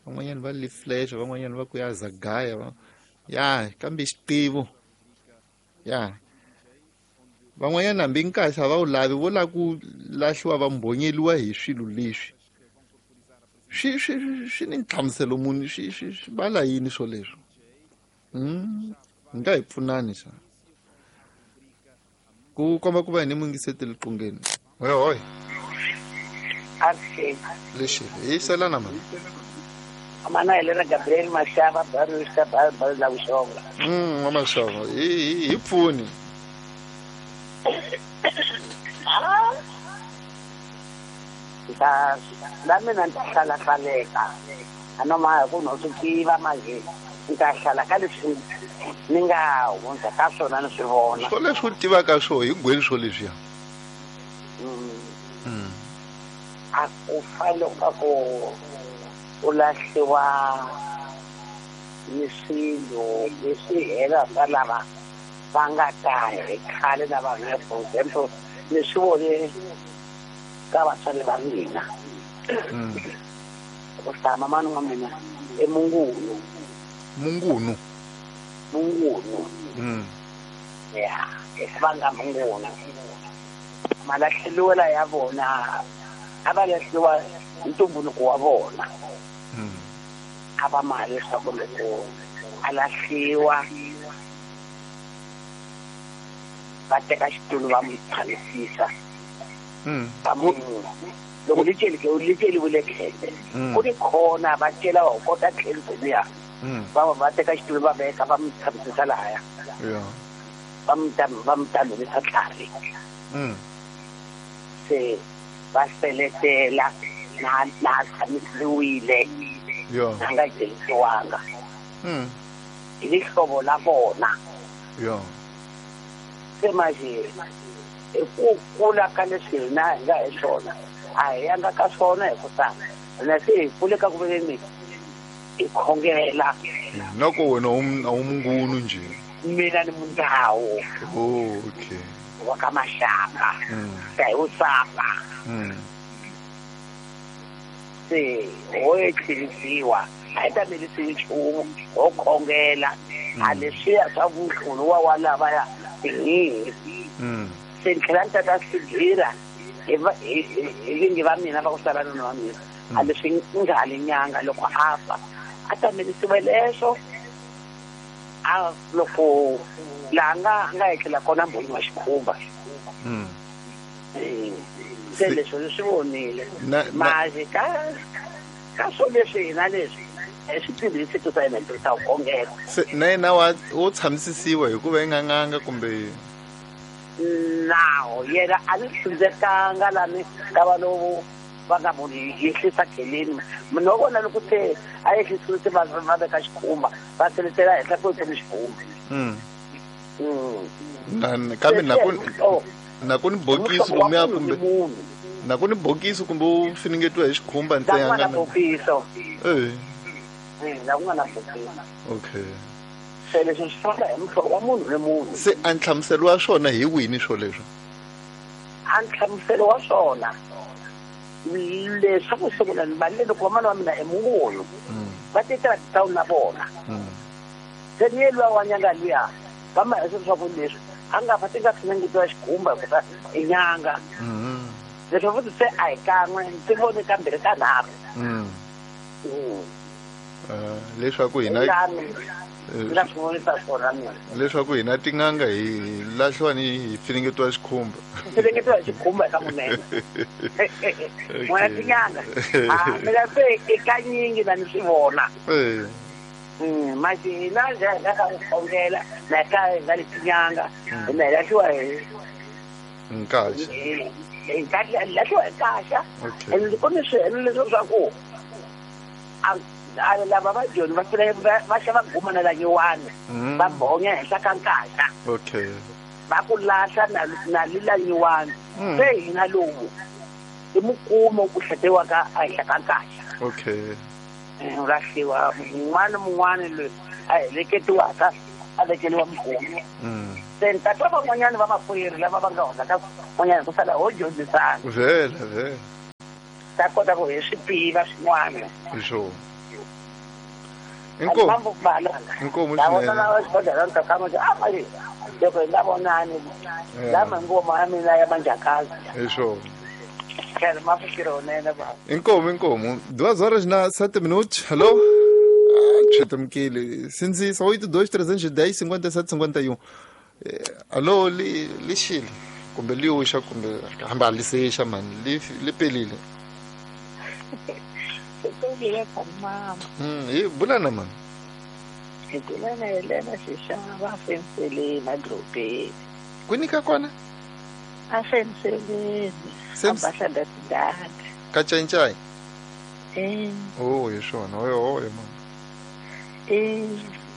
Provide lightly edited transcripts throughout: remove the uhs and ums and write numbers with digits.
Van'wanyana va liflexa, van'wanyana va ku ya zagaya va ya kambe xitivo ya van'wanyana hambi nkaxa va wu lavi, vo lava ku lahliwa va mbhonyeliwa hi swilo leswi swi swi swi ni nhlamuselo muni, swi swi swi vala yini swoleswo? Hi nga hi pfunani xa ku komba ku va hi ni mungiseteli qungeni. Hoy hoy. Lexi hi selana mani. Mana Helena Gabriel Mashava Barista Bar la Vuxonga. Wa Mashava hi hi pfuni. Ta la mina ni ta hlala hlaleka. A no ma ku no swi tiva manje. Ni ta hlala ka leswi ni nga hundza ka swona ni swi vona. Swo leswi u tivaka swo hi gweli swo leswiya. A ku fanele ka ku u lahliwa ni swilo leswi hela swa lava va nga ta hi khale na vanhu. For example, ni swi vone ka vatswari va mina. Ku hlaya mamani wa mina i Mungunu. Mungunu? Mungunu. Ya, i vanga Mungunu. Malahleliwela ya vona a va lahliwa ntumbuluko wa vona. A va mali leswaku loko a lahliwa va teka xitulu va n'wi tshamisisa. Va n'wi loko li celiwile khele ku ni khona va cela va kota khele liya. Va teka xitulu va veka va n'wi tshamisisa lahaya. Va n'wi tamelisa tlhari. Se va seletela na tshamisiwile. Na nga celisiwanga. Hi lihlovo la vona. Se manje hi ku kula ka leswi hina hi nga hi swona a hi yanga ka swona hi ku ta hina se hi kule ka ku veni hi khongela. Noko wena a wu mungunu nje? Mina ni mundhawu. Oh, okay. Wa ka Mashaka. Ta hi Usapa. Se ho etlherisiwa a hi ta melisiwi nchumu ho khongela. A leswiya swa vuhlulu wa lavaya hi. Se ni tlhela ni tata swigira hi vingi va mina va ku sala nuna wa mina. A leswi nga li nyanga loko a fa a ta melisiwe leswo. A loko laha nga etlela kona mbhoni wa xikhumba. Se leswo ni swi vonile. Manje ka swo leswi hina leswi hi swi tirhisi ku ta hina tirhisa ku khongela. Se na yena wo tshamisisiwa hikuva i nga n'anga kumbe? Nawu yena a ni hlundzekanga lani ka va lowu va nga munhu yehlisa kheleni. Munhu wa vona loko se a yehlisiwe se va veka xikhumba va seletela henhla ku ni xikhumba. Kambe na ku ni bokisi kumbe kumbe na ku ni bokisi kumbe u finingetiwa hi xikhumba ntsena. Na bokiso. Na ku nga na bokisi. Okay. Se leswi swi famba hi muhlovo wa munhu ni munhu. Se a nhlamuselo wa swona hi wini swoleswo? A nhlamuselo wa swona leswaku sungula ni valile loko vamana wa mina i Mungunu. Va tetela titawuni na vona. Se ni ye luya wa nyanga luya va ma hesa leswaku leswi a nga fa ti nga finingetiwa xikhumba hikuva i nyanga. Leswi futhi se a hi kan'we ndzi vone kambirhi ka nharhu. Leswaku hina nga swi vonisa swona mina. Leswaku hina tin'anga hi lahliwa ni hi finingetiwa xikhumba. Finingetiwa xikhumba eka munene. N'wina tin'anga. Mina se i kanyingi na ni swi vona. Manje hina njhe hi nga ka ku khongela na ka hi nga le tin'anga hina hi lahliwa hi nkaxa. Hi lahliwa hi nkaxa. And ku ni swihelo leswi swa ku a lava va joni va fika va xava guma na la nyiwani va bonya henhla ka nkaxa. Okay. Va ku lahla na lila nyiwani. Se hina lowu i mukumo ku hletiwaka ehenhla ka nkaxa. Okay. U lahliwa mun'wana mun'wana loyi a heleketiwaka a vekeliwa mukumo. Se ni ta twa van'wanyana va makwerhu lava va nga hundza ka van'wanyana ku sala ho dyondzisana. Vhela vhela. Ta kota ku hi swi tiva swin'wana. Hi swona. Inkomu. Inkomu swinene. Loko hi nga vonani lama ngoma ya mina ya manjakazi. Hi swona. Inkomu, inkomu. 2h07. Alô? Chetamkile. Sinzisa 82 310 57 51. Alô, lixile. Kumbe liusha kumbe hamba lisesha man. Lipelile. E bulana man. Bulana Helena Xixava afenseleni adorobeni. Kwini ka kona? Afenseleni. Abahla dada. Ka Chainchai? Oh, hi swona. Oyo oyo mama.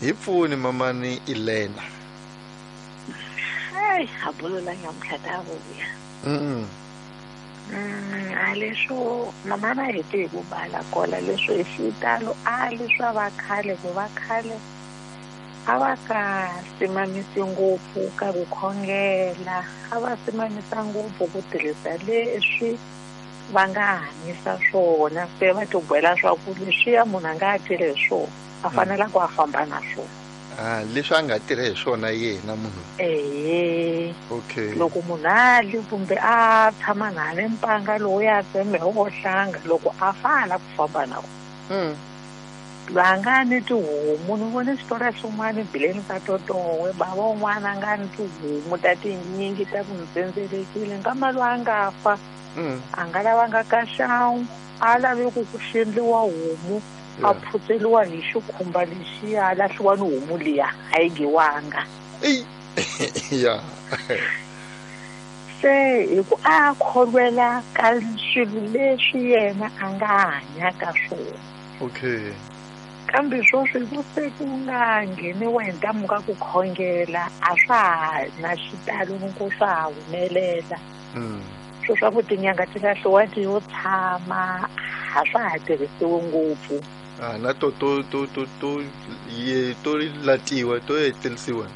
Hi pfuni mamani Elena. Ai, abulo la nyamuhla ta vuya. A leswo mama na hete hi ku bala kola leswo hi xitalo a leswa va khale ku va khale a va ka simamisi ngopfu ka ku khongela, a va simamisa ngopfu ku tirhisa leswi va nga hanyisa swona, se va tibyela swa ku leswiya munhu a nga tirhi hi swona a fanela ku a famba na swona. Ah, leswi a nga tirhi hi swona yena munhu. Okay. Loko munhu a li kumbe a tshama na le mpanga lowu ya tseme wo hlanga loko a fana ku famba na wona. Va nga ni tihomu, ni vone xitori xin'wana bileni ka Totowe, bava un'wana a nga ni tihomu ta tinyingi ta ku ntsendzelekile nkama loyi a nga fa a nga lavanga ka xangu, a lave ku ku xendliwa homu, a phutseliwa hi xikhumba lexiya, a lahliwa ni homu liya a yi giwanga. Se hi ku a kholwela ka swilo leswi yena a nga hanya ka swona. Okay. Kambe sweswi ku se ku nga ngheniwa hi ntamu ka ku khongela a swa ha na xitalo ku swa ha humelela. Swo swa ku tinyanga ti lahliwa ti yo tshama a swa ha tirhisiwi ngopfu. Ah, na to to to to to ye to latiwa to etelisiwa.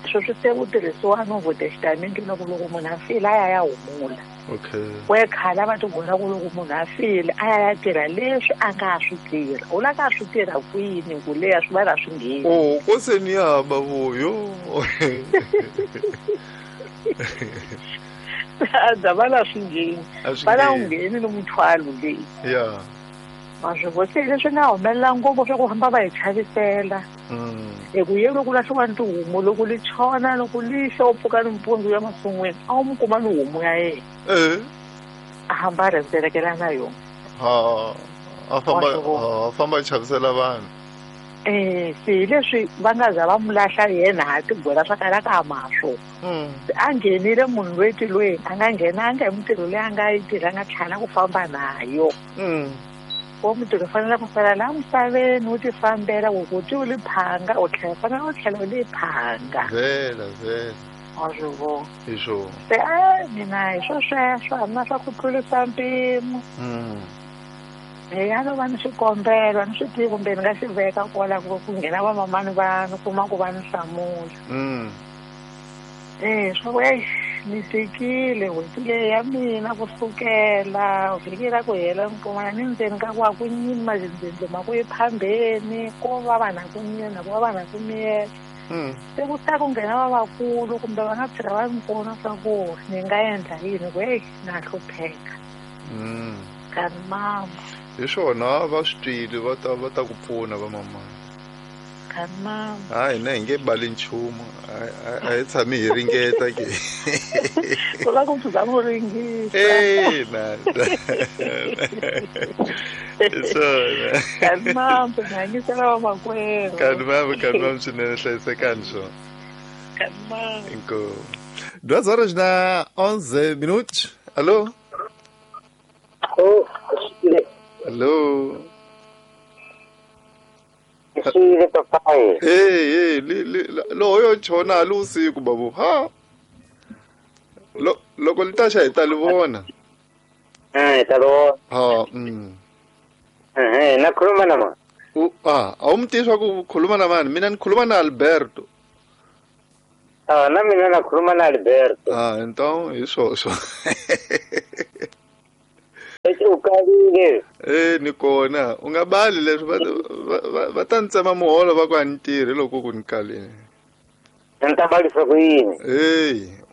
Sweswi se ku tirhisiwa Novo Testament loko loko munhu a file a ya ya humula. Okay. We khale va tivona ku loko munhu a file a ya ya tirha leswi a nga swi tirha. U la ka swi tirha kwini ku leya swi va na swi ngheni. Oh, ko se ni ya ba voyo. A va la swi ngheni. Va la ngheni ni muthwalo leyi. Yeah. Maswi se leswi nga humelela ngopfu swa ku famba va hi chavisela. Hi ku ye loko lahliwa ni tihomu loko li chona loko li xa u pfuka nimpundzu ya masun'wini a wu mu kuma ni homu ya yena. A hamba a rhendzelekela na yona. A famba a famba a chavisela vanhu. Se hi leswi va nga za va mu lahla yena ha tigwela swa kala ka ma swona. A nghenile munhu loyi tilweni a nga nghenanga hi mintirho leyi a nga yi tirha a nga tlhela ku famba nayo. Wo mintirho fanele ku sala laha misaveni wu ti fambela ku ku ti u li phanga u tlhela fanele u tlhela u li phanga. Vhela vhela. Wa swi vona. Hi swona. Se a mina hi swo sweswo a na swa ku tlurisa mpimo. Ya no va ni xikombelo ni swi tivi kumbe ni nga xi veka kwala ku nghena vamamani va ni kuma ku va ni hlamula. Swa ku ni tikile n'hweti leyi ya mina kusukela vhiki ra ku hela ni kuma ni ndzeni ka ku a ku nyimi mazindzindzi ma ku yi phambeni ko va vanhu a ku nyina ku va vanhu a ku miyela. Se ku ta ku nghena vavakulu kumbe va nga tlhela va ni pfuna swa ku ni nga endla yini ku heyi na hlupheka. Kani mama. Hi swona va swi twile va ta ku pfuna va mamani. Hayi na hi nge bali nchumu a hi tshami hi ringeta ke. Ku la ku pfuza ku ringisa. Na. Swona. Kani mama, hanyisela vamakwerhu. Kani mama, kani mama swinene hlayisekani swona. Kani mama. Inkomu. 2h11. Alô? Oh, alô? Xile papai. Hey, loyo chona ali usiku babu. Ha. Loko li ta xa hi ta li vona. Ta vona. Ha, na khuluma na mani? A wu mi tivi swa ku khuluma na mani? Mina ni khuluma na Alberto. Na mina na khuluma na Alberto. Então hi swoswo. U Ukalile. Ni kona. U nga bali leswi va ta ni tsema muholo va ku a ni tirhi loko ku ni kalile. Ni ta balisa ku yini?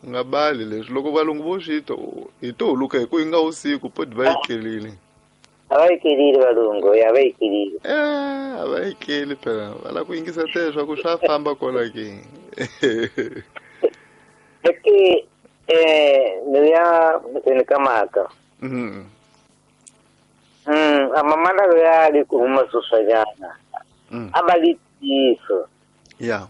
U nga bali leswi loko valungu vo swi twa hi to huluka hi ku yi nga usiku poti va yi kelile. A va yi kelile valungu, ya va yi kelile. A va yi keli phela, va lava ku yingisela leswaku swa famba kwala ke. Eke ni ya ni ka mhaka. Amamana ya li ku huma sweswanyana. A va li tiyiso. Ya.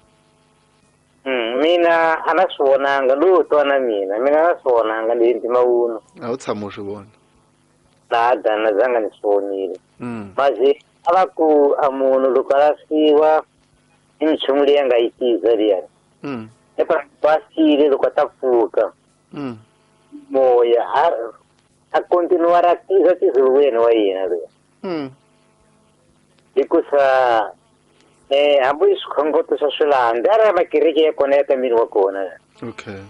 Mina a na swi vonanga lowu twana mina na swi vonanga ni ntima wuno. A wu tshama u swi vona. Na dana zanga ni swi vonile. Mazi a va ku a munhu loko a lahliwa i minchumu leyi a nga yi tiza liyani. Epa basile loko a ta pfuka. Moya a continua ra tiza tizulweni wa yena loyi. Hikusa hambi swikhongoto swa swilanda a ri makereke ya kona ya ka miri wa kona. Okay.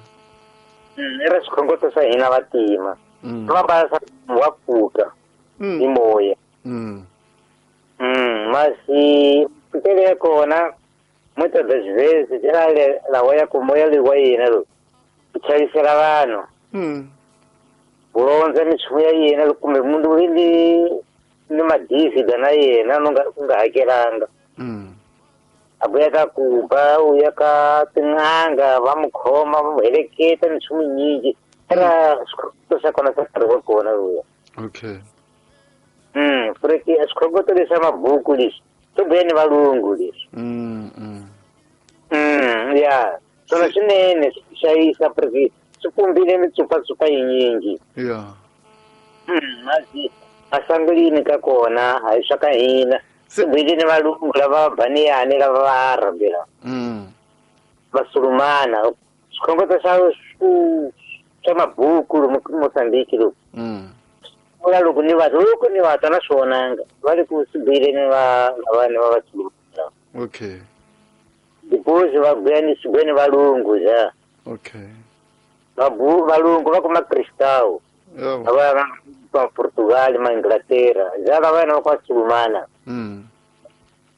I ra swikhongoto swa hina vantima. Va basa wa pfuka hi moya. Masi pfukele ya kona muitas das vezes era lawa ya ku moya leyi wa yena loyi ku chavisela vanhu. Vulondza minchumu ya yena kumbe munhu loyi ni madizida na yena u nga hakelanga. A vuya ka kuba u ya ka tin'anga va mu khoma va mu heleketa minchumu nyingi era swikhongoto swa kona swa nkarhi wa kona luya. Okay. Porque swikhongoto leswa mabuku leswi swi vuya ni valungu leswi. Ya swona swinene swi xavisa porque swi pumbile mitsupatsupa yinyingi. Ya. Mazi asangulini ka kona a hi swa ka hina. Swi vuyile ni valungu lava baniyani lava va arabi lava. Vasulumana swikhongoto swa swa mabuku lomu Mozambique loku. Vula loko ni va loko ni va twa na swi vonanga va le ku swi vuyile ni va lavani va vasulumana. Okay. Depois va vuya ni swi vuya ni valungu ja. Okay. Valungu va kuma Cristão. Lava va Portugal ma Inglaterra ja lava va kwa Sulumana.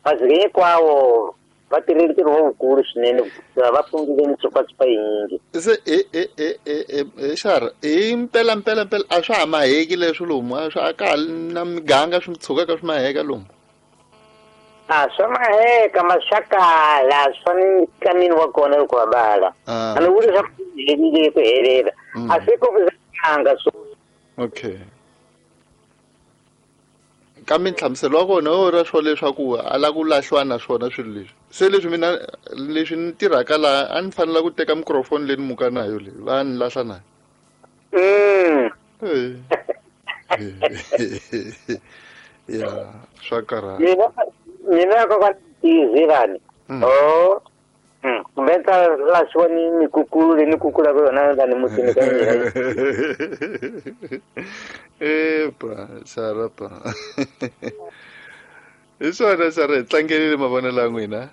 Mas hinkwavo va tirhile ntirho wukulu swinene va pfungile mitsupatsupa yinyingi. Se xara hi mpela mpela mpela a swa ha maheki leswi lomu a swa ka ha na miganga swi tshukaka swi maheka lomu. A swa maheka ma swa kala swa ni kamini wa kona loko va bala. A ni vuli swa ku helile ku helela. A swi ku anga so. Okay. Kambe nhlamuselo wa kona wo ra swo leswaku a lava ku lahliwa na swona swilo leswi. Se leswi mina leswi ni tirhaka laha a ni fanela ku teka microphone leyi ni muka na yo leyi va ni lahla na. Ya swa karhala. Mina ko ka tizilani. Oh. Kumbe ta lahliwa ni mikukulu leyi ni kukulaka yona lani mutini ka mina. Epa, xarapa. Hi swona xara hi tlangelile mavonelo ya n'wina.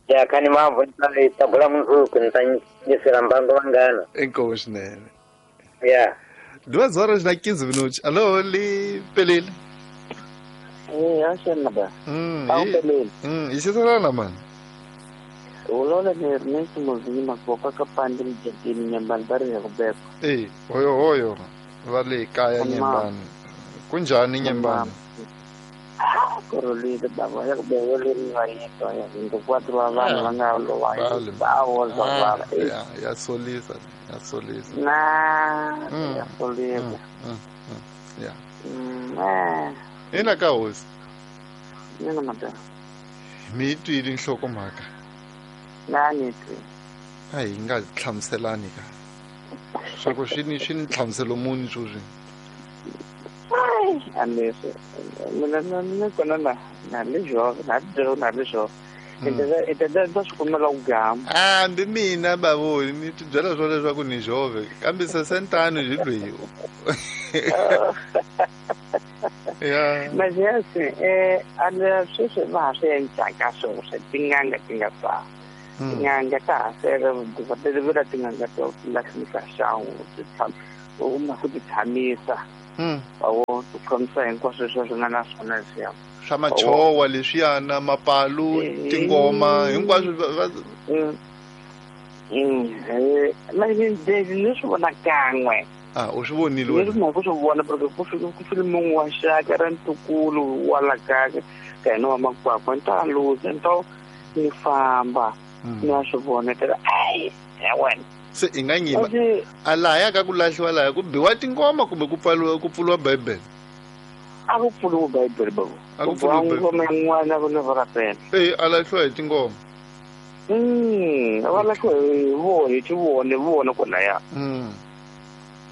Ya khani mavhu ni ta bula mundzuku ni ta nyisela mbangu vanghana. Inkomu swinene. Ya. Duas horas na 15 minutos. Alô, li pelile. Acha nada. Pelile. Isisalana mani. Ulola ni Ernesto Mozima kwa kapande mjadini nyambani bari ya kubeka. Hoyo hoyo. Va le kaya nyembani. Kunjani nyembani? Korolile baba ya kubeka le wa yeto ya 24 wa vanhu va nga lowa. Bawo za va. Ya solisa, ya solisa. Na ya solisa. Ya. Ina ka hosi. Mina mata. Mi twile nhlokomhaka. Na ni twi. A hi nga hlamuselani ka. Swa ku swi ni nhlamuselo muni sweswi. Ai, amese. Mina na kona na le jove, na le na le jove. Ete swi kumela ku gama. Hambi mina bavoni ni ti byela swo leswaku ni jove kambe sesentano hi lweyi. Ya. Mas é assim, a sweswi va ha swi endlaka swona swa tin'anga ti nga ta. Tin'anga ta ha sele va tin'anga to lahlisa xangu ti tshama u kuma ku ti tshamisa. khomisa hinkwaswo leswi swi nga na swona leswiya swa machowa leswiyana mapalu tingoma hinkwaswo ni swi vona kan'we. U swi vonile wena? Ni ku swi vona porque ku file munhu wa xaka ra ntukulu wa la ka ka yena wa makwakwa ni ta luza ni ta ni famba ni ya swi vona ta ai ya wena. Se i nga nyima a lahaya ka ku lahliwa laya ku biwa tingoma kumbe ku pfuriwa Bibele? A ku pfuriwa Bibele babo. A ku pfuriwa ngoma yin'wana ku ni varapela. A lahliwa hi tingoma. Va lahliwa hi vona hi tivone vona kwalaya.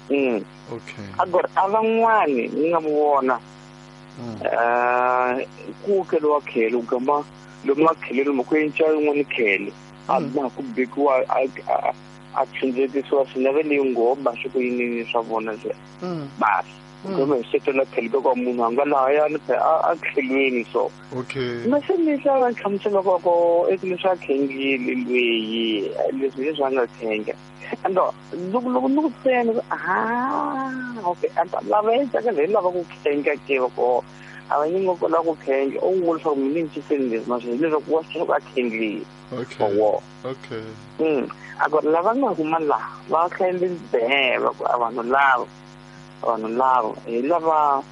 Okay. Agora a van'wani ni nga mu vona ku keliwa khele u gama lomu a khele lomu ku enca yin'wana khele a na ku bikiwa a tshundzekisiwa swinene leyi ngoma swi ku yini swa vona nje basi gama hi setela khele ka munhu a nga lahayani a khelweni so. Okay. Mase leswi a va nhlamusela ko i leswi a khengile lweyi leswi leswi a nga khenga. And loko ni ku tsena okay and lava endlaka leyi lava ku khenga ke ko a va nyingo ko lava ku khenga u vula leswaku mina ni ciseni leswi maswi hileswaku wa swi a khengile. Okay. Okay. Agora lava nga huma laha va khendle be va ku a vanhu lava hi lava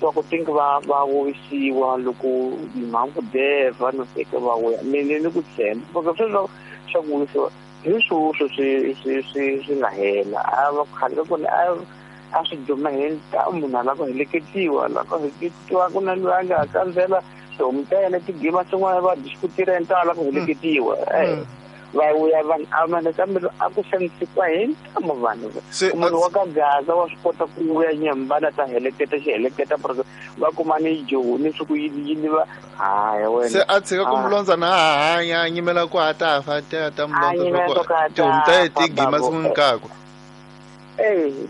va ku tinga va wisiwa loko mhangu deva no teka va wuya mina ni ku tshemba porque sweswo swa ku wisiwa hi swoswo swi nga hela a va khale ku a swi duma hi munhu a lava ku heleketiwa lava ku heleketiwa ku na loyi a nga kandzela tihomu ta yena tigima swin'wana va diskutira ta lava ku heleketiwa va vuya vanhu a mana kambe a ku xanisiwa hi ntamu vanhu munhu wa ka Gaza wa swi kota ku vuya nyambana ta heleketa xiheleketa porque va kuma ni joni swi ku yini va haya wena se a tshika ku mulondza na hanya a nyimela ku a ta fa ta mulondza tihomu ta tigima siku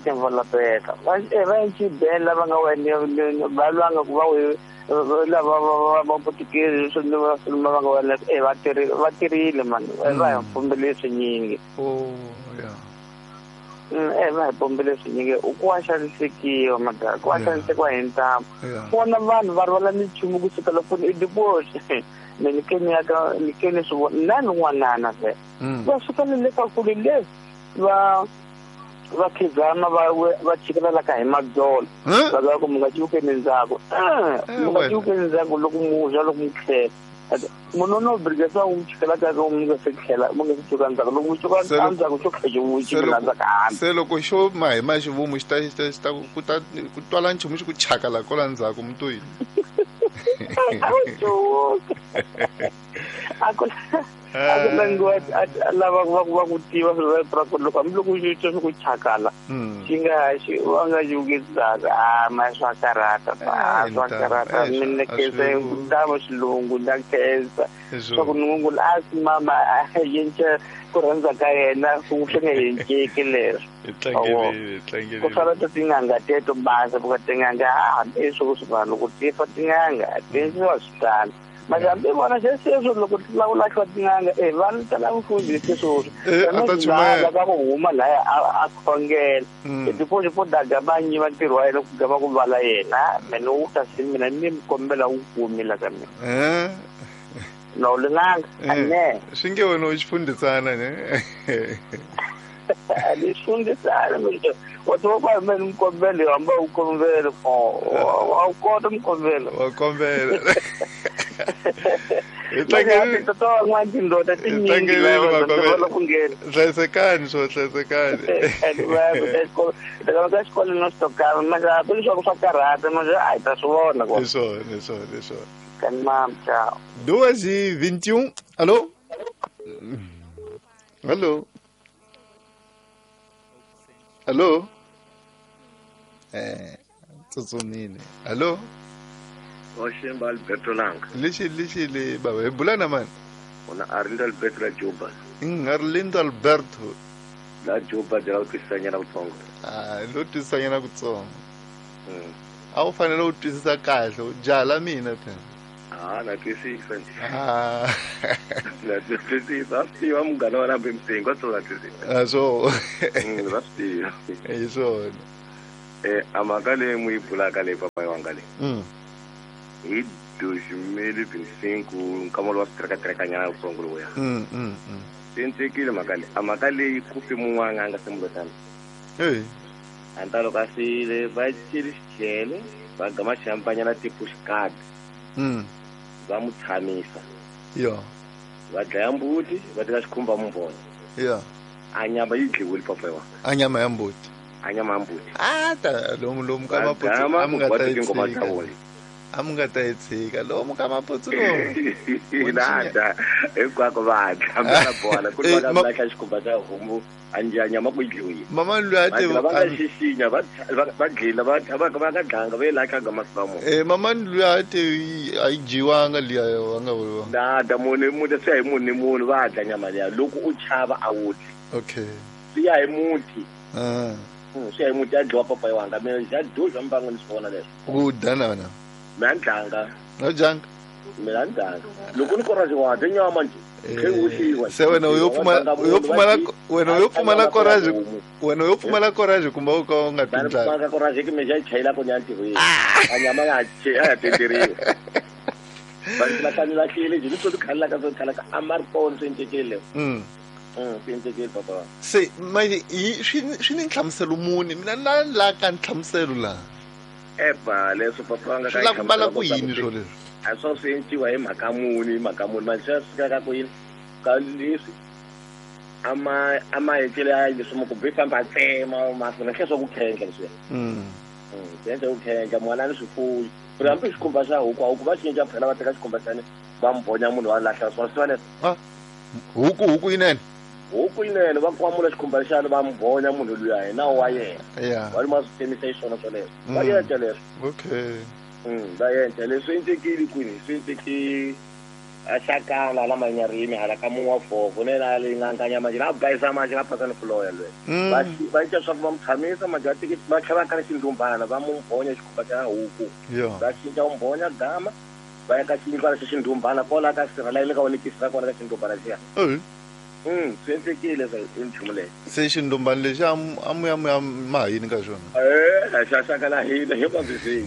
tivola peta va ncibela va nga wena va lwanga ku va lava va potikeri swi va va nga wena va tirhile mani va hi pombele swinyingi. Va hi pombele swinyingi u ku wa xanisekiwa madaka ku wa xanisekiwa hi ntamu vona vanhu va rhwala minchumu kusuka loko i diposi me ni keni ya ka ni keni swi vona na n'wanana ve va suka le ka kule le va va khizama va chikelela ka hi madzolo va va ku mi nga ciukeni ndzhaku mi nga ciukeni ndzhaku loko mu loko mu tlhela munhu no brigesa u chikela ka ku mi nga se tlhela mi nga se ciuka ndzhaku loko mu ciuka ndzhaku xo tlhela xi chikela ndzhaku hambi se loko xo ma hi ma xivumu xi ta ku ta ku twala nchumu xi ku chakala kwala ndzhaku mutoyini a ku langiwa lava va ku tiva swilo swa ku loko hambiloko xi twa swi ku chakala xi nga xi va nga ciukisaka a ma swa karhata swa karhata mina khensa ndava xilungu nda khensa swa ku nungula a swi mama a yenca ku rhandza ka yena ku swi nga yenceki leswo ku sala ta tin'anga teto basa ku tin'anga hambi swo swi vanhu loko ti fa tin'anga ti endliwa swi tala Mahambi vona sweswo loko la ku lahliwa tin'anga vanhu tala mfundhisi sweswo la ku huma laya a khongela tipoxi po daga va nyiva ntirho wa yena ku gama ku vala yena mina wu ta si mina ni mi kombela wu kumi la ka mina no lin'anga ane swi nge wena u xifundhisana ne ni xifundhisana wa tiva ku mina mi kombela hamba u kombela wa kota mi kombela wa kombela hlayisekani swo hlayisekani ka xikolo no xitokana manje leswaku swa karhata manje a hi ta swi vona hi swona hi swona hi swona kani mam ciao 2h21. Allo allo allo tsutsumile. Allo Oshemba Alberto Langa. Lexi baba hi bula na mani? Ona Arlindo Alberto la Juba. Arlindo Alberto la Juba de la twisisanyana kutsongo. Lo twisisanyana kutsongo. A wu fanele u twisisa kahle u jala mina phela. Na twisisa. Na twisisa. Swi tiva munghana wa nambe msingo swo na twisisa. Swo. Va swi tiva. Hi swona. Amaka leyi mu yi bulaka leyi papa wanga leyi. Hi 2025 nkamolo wa switrekatreka wutsongo lowuya. Swi endlekile mhaka leyi. Amaka leyi ku fi mun'wana a nga se mulotana. Anta loko a file va celi xichele va gama xihampanyana tipushcard. Va mu tshamisa. Va dlaya mbuti va teka xikhumba mumbona. A nyama yi dliwile papa wa. A nyama ya mbuti. A nyama ya mbuti. A ta lomu ka maputsu a mu nga ta yi tshika. A mu nga ta yi tshika lomu ka maputsu lomu. Nada hinkwako va dla va bola ku ri va lahla xikhumba xa homu a nyama ku yi dliwile. Mama loyi a te va nga xixinya va dlila va nga dlanga va yi lahla nga masiku mo. Mama loyi a te a yi dyiwanga liya va nga vuriwa. Nada munhu munhu swi ya hi munhu ni munhu va dla nyama liya loko u chava a wu dli. Okay. Swi ya hi muti. Swi ya hi muti ya dliwa papa wanga mina xa duza mbangu ni swi vona leswo. Ku dya na wena. Mina ndlanga. No dyanga. Mina ndlanga. Loko ni courage wa dya nyama nje. Se wena u yo pfumala wena u yo pfumala courage wena u yo pfumala courage kumbe u ka u nga tindlanga. Mina courage ke meja chayela ko nyanti ho. A nyama ya che ya tenderiwa. Va la ka la kile nje ni to khala ka to khala ka amarpon swi endlekile. Swi endlekile papa. Se manje swi ni nhlamuselo muni mina la la ka nhlamuselo la. Eba leswo papa nga ka la ku bala ku yini swo leswi. A swo swi endliwa hi mhaka muni manje swi fika ka ku yini ka leswi ama endlele ya leswi mo ku bi famba tsema masina hle swa ku khendla leswi. Swi endla ku khendla mwana ni swifuwo. Ku hambi xikhumba xa huku huku va cinca phela va teka xikhumba xani va mbonya munhu wa lahla swona swi leswi. Huku yinene. Huku yinene va kwamula xikhumba xani va mbonya munhu luya hi nawu wa yena. Va ri ma swi tsemisa hi swona swoleswo. Va endla leswo. Okay. Va endla leswi endlekile kwini swi endleke a xakala la manyarimi hala ka mun'wa vhovo ne la leyi nga nkanya manje la bayisa manje la phasa ni fuloya lwe. Va cinca swa ku va mu tshamisa manje va teke va tlhela va kala xindumbana va mu mbonya xikhumba xa huku. Va cinca u mbonya gama va ya ka xiyindlwana xa xindumbana kwala ka sirha la le ka wona ra kona ka xindumbana xiya. Swi endlekile swa i nchumu leyi. Se xindumbana lexi a mu ya ma yini ka xona? Xa xaka la hina hi va busy.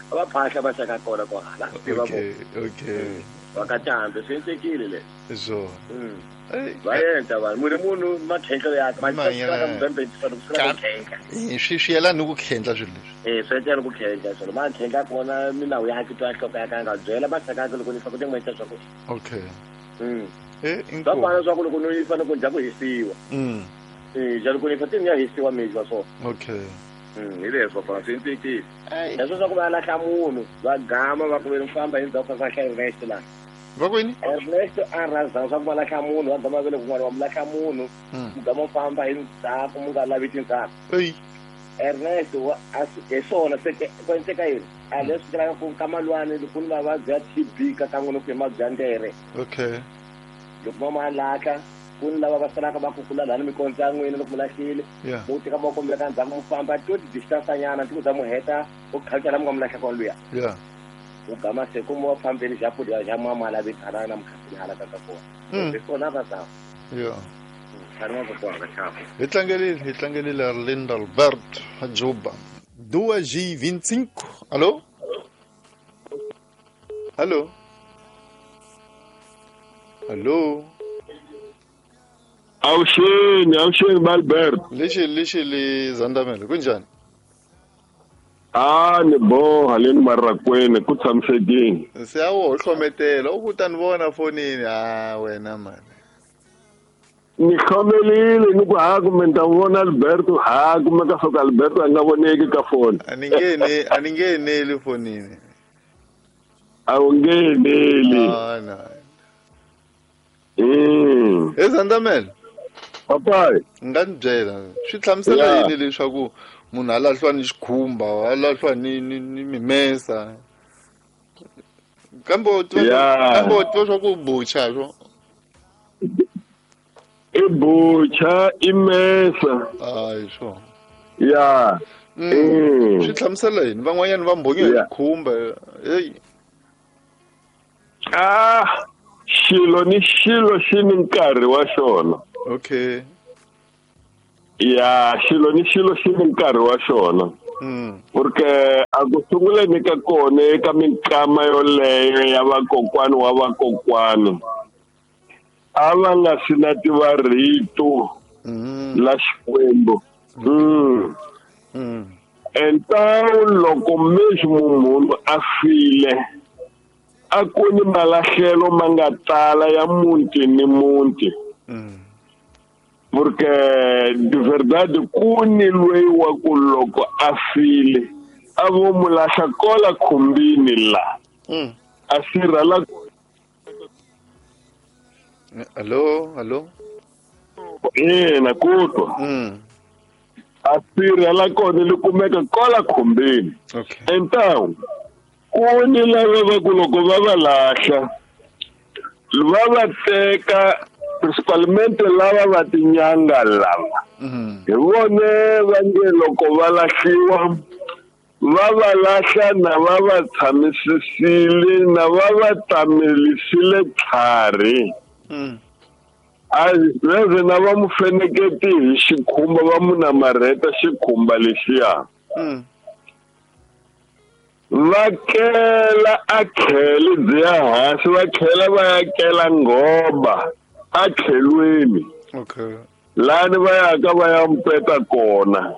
Va phahla va xaka kona kwahala. Okay. Va ka cambe swi endlekile leswi. Swona. Va endla vanhu munhu makhendlelo yakhe swi yelani ni ku khendla swilo leswi. Swi endla ni ku khendla swilo makhendla kona milawu yakhe twa nhloko ya ka nga byela maxaka yakhe loko ni fa ku ti n'wi swa ku. Okay. Va fana swa ku loko ni fanele ku dya ku hisiwa. Ja loko ni fa ti ni ya hisiwa mijwa so. Okay. Hi leswo papa swi endlekile. Leswo swa ku va lahla munhu va gama va ku ve famba hi ndzhaku ka Ernest la. Va kwini? Ernest a rhandza swa ku va lahla munhu va gama ve le kun'wana va mu lahla munhu mu gama famba hi ndzhaku mu nga lavi tindzhaku. Ernest wa hi swona se ku endleka yini? A leswi tirhaka ku ka malwani loko ni mavabyi ya TB ka kan'we loko hi mavabyi ya ndere. Okay. Loko mama lahla ku ni lava va salaka va kukula lani mikondzo ya n'wina loko mu lahlile mu teka mavoko mi ka ndzhaku mu famba to distance nyana ti ku za mu heta u khalcha la mu nga mu lahla kona luya. U gama se ku mu wa fambeni xa pudi xa mama lavi hala na mukhanseli hala ka ka kona. Hi swona va za. Hi tlangelile Arlindo Alberto Juba. 2h25. Alô? Alô? Alô? Awuxeni Albert. Lexi Zandamela kunjani? Ni boha le marakweni ku tshamisekile. Se a wo hlometela u ku ta ni vona fonini a wena mani. Ni khomelile ni ku ha kumbe ni ta vona Alberto ha kumbe ka soka Alberto a nga voneki ka foni. A ni ngeneli fonini. A wu ngeneli. No. Zandamela. Papai. Nga ni byela swi hlamusela yini leswaku munhu a lahliwa ni xikhumba a lahliwa ni mimesa kambe u tiva swa ku bucha swo i bucha i mesa hayi swo ya swi hlamusela yini van'wanyana va mbhonyiwa hi xikhumba hey xilo ni xilo xi ni nkarhi wa xona. Okay. Ya xilo ni xilo xi ni nkarhi wa xona. Porque a ku sunguleni ka kona eka minkama yoleyo ya vakokwani wa vakokwani a va nga si na tiva rito la Xikwembu. Então loko mesmo munhu a file a ku ni malahlelo ma nga tala ya muti ni muti. Porque de verdade ku ni loyi wa ku loko a file a vo mu lahla kola khumbini la. A sirha la. Allo, allo. Ina ku twa. A sirha la kona li kumeka kola khumbini. Okay. Então ku ni lava va ku loko va va lahla va va teka principalmente lava va tinyanga lava. Hi vone va nge loko va lahliwa va va lahla na va va tshamisisile na va va tamelisile tlhari. A veze na va mu feneketi hi xikhumba va mu namarheta xikhumba lexiya. Va kela a khele byi ya hansi va tlhela va ya kela nghoba a tlhelweni. Okay. Lani va yaka va ya mpeta kona.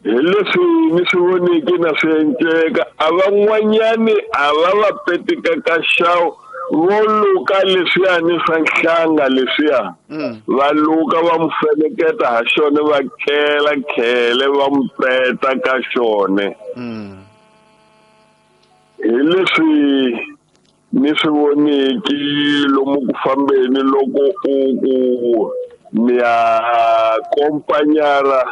Hi leswi ni swi voniki na swi enceka a van'wanyani a va va petika ka xawu vo luka leswiyani swa nhlanga leswiya. Va luka va mu feneketa ha xona va kela khele va mu peta ka xona. Hi leswi ni swi voniki lomu ku fambeni loko u ku ni ya kompanyara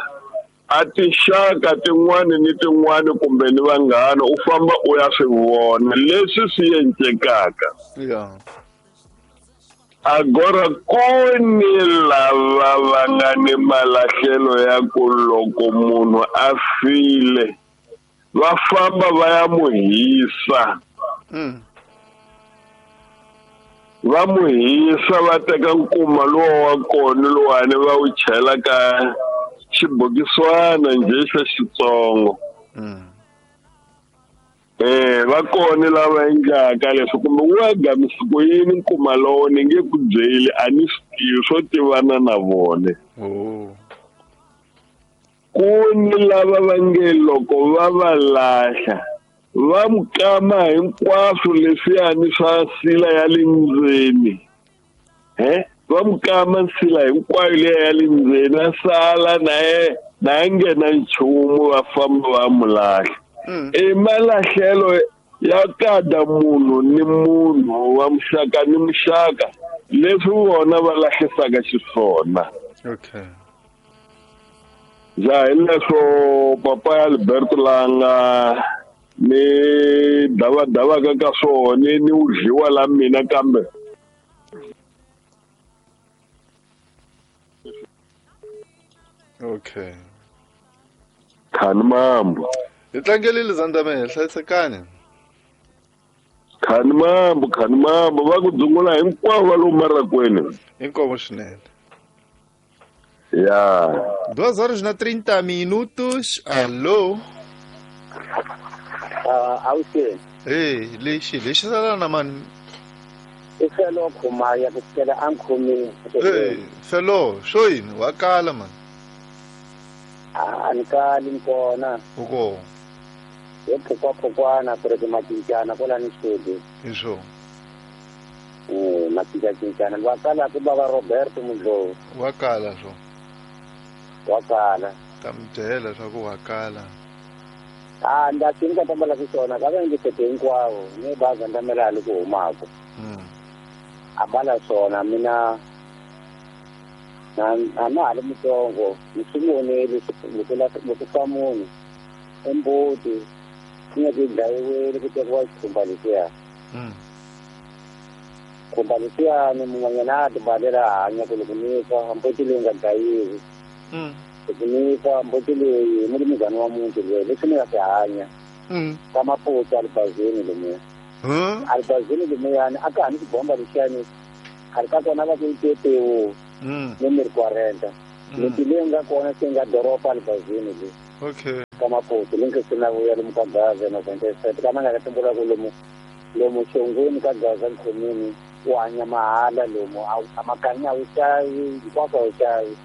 a tinxaka tin'wani ni tin'wani kumbe ni vanghana u famba u ya swi vona leswi swi encekaka. Agora ku ni lava va nga ni malahlelo ya ku loko munhu a file va famba va ya mu hisa. Va mu hisa va teka nkuma lowa wa kona lowani va wu chela ka xibokiswana njhe xa xitsongo. Va kona lava endlaka leswi kumbe wu gamisa ku yini nkuma lowo ni nge ku byeli a ni swi tivi swo tivana na vona. Ku ni lava va nge loko va va lahla va mu kama hinkwaswo leswiyani swa sila ya le ndzeni. Va mu kama nsila hinkwayo liya ya le ndzeni a sala na ye na nghena nchumu va famba va mu lahla. I malahlelo ya kada munhu ni munhu wa muxaka ni muxaka leswi vona va lahlisaka xiswona. Okay. Ja hi leswo papa ya Alberto langa ni davadavaka ka swona ni wu dliwa la mina kambe. Okay. Khani mambo. Hi tlangelile Zandamela, hlayisekani. Khani mambo, khani mambo va ku dzungula hinkwavo va lomu marakweni. Inkomo swinene. Ya. 2h30. Allo. Awuxeni. Hey, lexi lexi sala na mani. I felo khumaya ku fikela a nkhomini. Hey, felo, swo yini wa kala mani. A ni kali ni kona. U kona. Hi phukwaphukwani ku ri timacincana kwala ni xudi. Hi swona. Macincacincana va kala ku bava Roberto Mudlovu. Wa kala swo. Wa kala. Ta mi byela swa ku wa kala. A nda swi ni ka tambala ku swona ka va ndzi hinkwavo ni baza ndamela hali ku humaka. A bala swona mina na na ha ri mutsongo ni swi vonile loko fa munhu embuti yi nga ku dlayiwile ku tekiwa xikhumba lexiya. Khumba lexiyani mun'wanyana a ti balela hanya ku loko ni fa mbuti leyi nga dlayiwi. Loko ni fa mbuti leyi mulimuzana wa muti loyi leswi ni nga swi hanya ka maputa alibazini lomuya. Alibazini lomuyani a ka ha ni xibomba lexiyani khale ka kona va ku itetewu. Ni mi ri 40. Miti leyi nga kona se nga doroba Albazini le. Okay. Ka Maputo le nkisi na vuya lomu ka Gaza na Venteset ka nga tumbula ku lomu lomu xongweni ka Gaza nkhomini u hanya mahala lomu a makanya wu xavi hinkwaswo a wu xavi.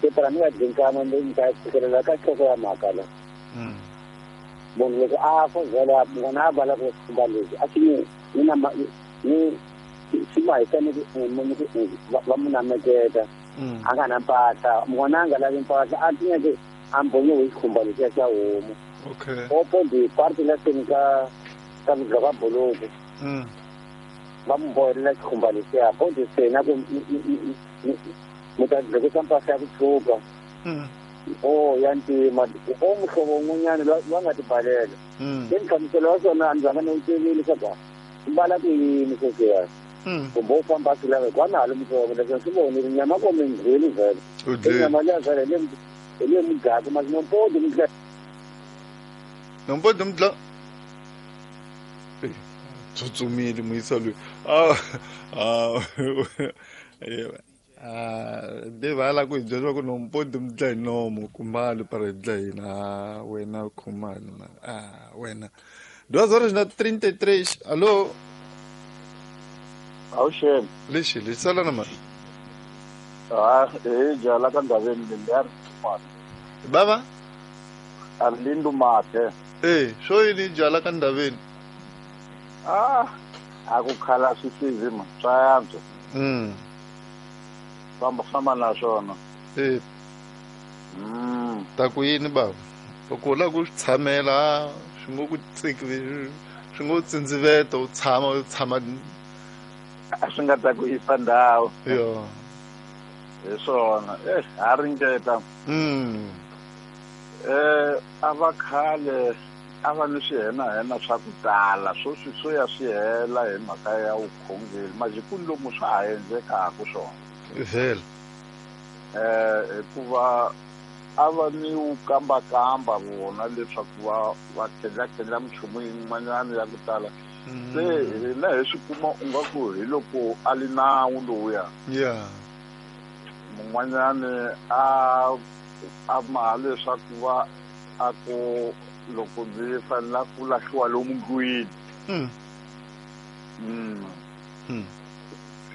Se phela ni nga dyinkama ni ta fikelela ka nhloko ya mhaka la. Munhu loko a fa vhele n'wana a vala ku xikhumba lexi a xi ni na ni swi ma hisa ni va mu nameketa a nga na mpahla n'wana a nga lavi mpahla a tinyeke a mbonyiwe hi xikhumba lexiya xa homu. Okay. Opo ndi parti la seni ka ka ka buluku va mu bohelela xikhumba lexiya po ndi sena ku mi ta dlekisa mpahla ya ku tshuka o ya ntima o muhlovo wun'wanyana loyi a nga tibalela. Se nhlamuselo wa swona a ni zanga ni wu tivile leswaku mbala ku yini sweswiya. Kumbe u famba a swi lava hikuva na ha ri mutsongo leswi swi vonile nyama ko mi ndlweli vhele. Nyama liya vhele hi le mudlaku masi nompodi mudla. Nompodi mudla. Tsutsumile muyisa loyi. De va la ku hi byela ku nompodi mudla hi nomo kumali para hi dla hina wena khumali wena. 2h33. Alô? Awuxeni. Lexi lexi sala na mali. Ah, eh jala ka ndaveni le Baba? Arlindo Mate. Eh, swo yini jala ka ndaveni? Ah, a ku khala swisizi ma swa yantswa. Famba famba na swona. Eh. Ta ku yini baba? Loko u lava ku swi tshamela swi ngo ku tsiki swi ngo tsindziveta u tshama a swi nga ta ku yisa ndhawu. Yo. Hi swona. Eh, ha ringeta. A va khale a va ni swihenahena swa ku tala sweswi swo ya swi hela hi mhaka ya vukhongeri majikuni lomu swa ha endlekaku swona. Vhele. Hikuva a va ni wu kambakamba vona leswaku va khendlakhendla minchumu yin'wanyana ya ku tala. Se hina hi swi kuma u nga ku hi loko a li nawu lowuya. Yeah. Mun'wanyani a maha leswaku va a ku loko ndzi fanela ku lahliwa lomu ndlwini.